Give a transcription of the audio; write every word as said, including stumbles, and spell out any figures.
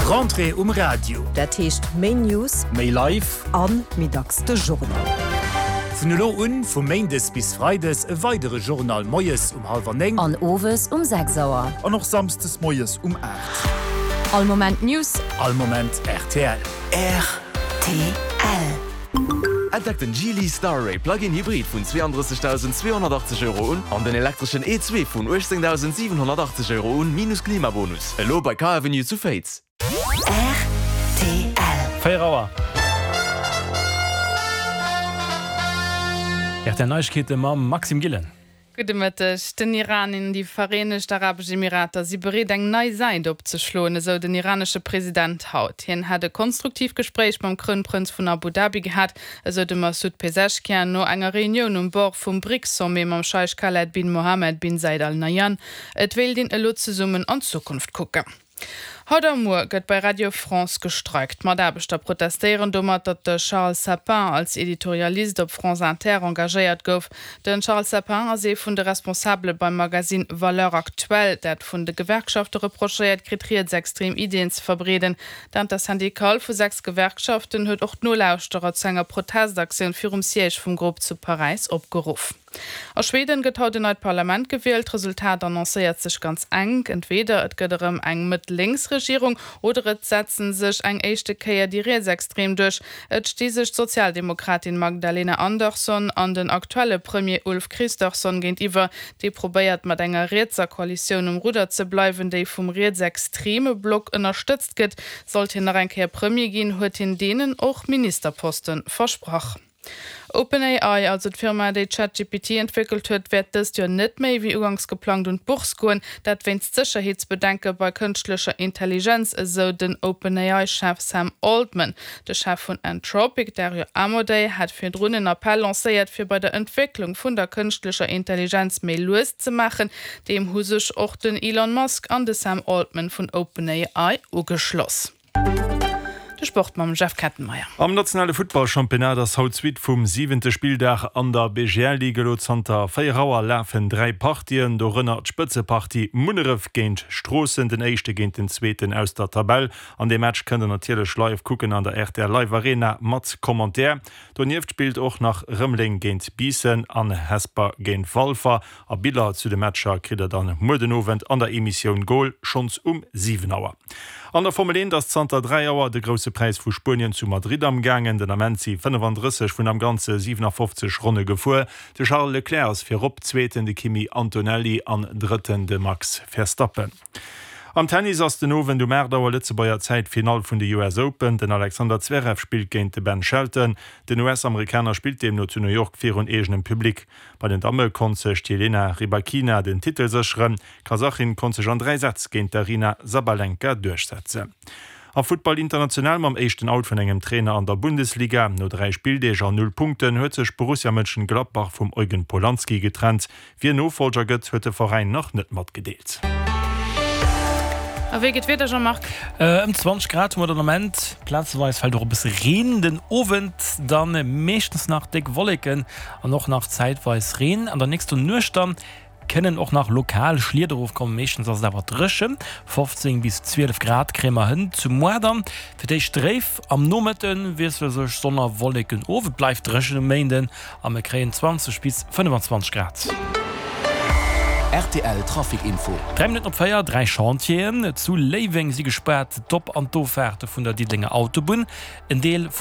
Rentrée um Radio. Dat heescht méi News, Méi live. An méi dacks de Journal. Vun elo un, vu méindes bis freides, e weidere Journal moies um hallwer néng. An owes um sechs Auer. An och samsdes moies um aacht. All Moment News. All Moment rtl. Rtl. Entdeckt den Geely Starray Plug-in Hybrid vun zweeanddrëssegdausendzweehonnertachtzeg Euro un an den elektreschen E zwee vun uechtzéngdausendsiwenhonnertachtzeg Euro un, minus Klimabonus. Elo bei Car Avenue zu Féiz. Rtl. Véier Auer. R T L Neiegkeete mam Maxime Gillen. Gudde Mëtteg. Den Iran an déi Vereenegt Arabesch Emirater si bereet eng nei Säit opzeschloen, esou den iranesche President haut. Hien hätt e konstruktiivt Gespréich mam Krounprënz vun Abu Dhabi gehat, esou de Masoud Pezeshkian no enger Reunioun um Bord vum BRICS-Sommet mam Scheich Khaled bin Mohammed bin Zayed Al Nahyan. Et wéilt een elo zesummen an d'Zukunft kucken. Haut a muer gëtt bei Radio France gestreikt. D'Mataarbechter protestéieren domat, datt de Charles Sapin als Editorialist op France Inter engagéiert gouf. De Charles Sapin ass ee vun de Responsabele beim Magasinn Valeurs Actuelles, dat vun de Gewerkschafte reprochéiert kritt, rietsextrem Iddien ze verbreeden. D'Intersyndicale vu sechs Gewerkschaften huet och d'Nolauschterer zu enger Protestaktioun virum Siège vum Grupp zu Paräis opgeruff. A Schweden gëtt haut en neit Parlament gewielt. D'Resultat annoncéiert sech ganz enk, Entweeder et gëtt erëm eng Mëtt-Lénks-Regierung oder et setze sech eng éischte Kéier déi Rietsextrem duerch. Et sti sech d'Sozialdemokratin Magdalena Andersson an den aktuelle Premier Ulf Kristersson géintiwwer. Dee probéiert mat enger rietser Koalitioun um Rudder ze bleiwen, déi vum rietsextreme Block ënnerstëtzt gëtt. Sollt hien nach eng Kéier Premier ginn, huet hien deenen och Ministerposte versprach. OpenAI, also d'Firma, déi ChatGPT entwéckelt huet, wäert dëst Joer net méi wéi uganks geplangt un d'Bourse goen. Dat wéinst Sécherheetsbedenke bei kënschtlecher Intelligenz, esou den OpenAI-Chef Sam Altman. De Chef vun Anthropic, Dario Amodei, hat virdrun en Appell lancéiert, fir bei der Entwécklung vun der kënschtlecher Intelligenz méi lues ze maachen. Deem hu sech och den Elon Musk an de Sam Altman vun OpenAI ugeschloss. De Sport mam Jeff Kettenmeyer. Am nationale Futtballchampionnat ass haut d'Suite vum siwente Spilldag an der B G L Ligue. Elo zanter véier Auer lafen dräi Partien, dorënner d'Spëtzepartie Munneref géint Stroossen, den éischte géint den zweeten aus der Tabell. An dee Match kënnt der natierlech live kucken an der R T L Live Arena mat Commentaire. Donieft spillt och nach Rëmeleng géint Biissen an Hesper géint Walfer. A Biller zu de Matcher kritt der dann muer den Owend an der Emissioun Goal schonns um siwen Auer. An der Formel eent ass zanter dräi Auer de Grousse Präis vu Spuenien zu Madrid amgaangen. Den Ament si fënnefandrësseg vun am Ganze siwenafofzeg Ronne gefuer. De Charles Leclerc ass virop, Zweeten de Kimi Antonelli an Drëtten de Max Verstappen. Am Tennis ass den Owend um aacht Auer Lëtzebuerger Zäit d'Finall vun de U S Open. Den Alexander Zverev spillt géint de Ben Shelton. Den U S-Amerikaner spillt deemno zu New York virun eegenem Public. Bei den Damme konnt sech d'Jelena Rybakina den Titel sécheren. D'Kasachin konnt sech an dräi Sätz géint d'Aryna Sabalenka duerchsetzen. Am Futtball international mam éischten Out vun engem Trainer an der Bundesliga. No dräi Spilldeeg an null Punkten huet sech Borussia Mönchengladbach vum Eugen Polanski getrennt. Wien Nofolger gëtt, huet de Veräin nach net matgedeelt. A wéi geet d'Wieder, Jean-Marc? Ëm zwanzeg Grad hu mer den Ament. Plazeweis fält och e bësse Reen. Den Owend dann meeschtens nach déck Wolleken an och nach zäitweis Reen. An der nächster Nuecht dann kënnen och nach lokal Schlieder erofkommen. Meeschtens ass et awer dréchen. Fofzéng bis zwielef Grad kréie mer hënt. Zu muer dann fir d'éischt dréif. Am Nomëtte wiessele sech Sonn a Wolleken of. Et bleift dréchen um Méinden a mir kréien zwanzeg bis fënnefenzwanzeg Grad. R T L Trafic Info. Dräi Minutten op véier, dräi Chantieren zu Léiweng si gespaart. D'Op an d'Offaarte vun der Diddelenger Autobunn, en Deel vun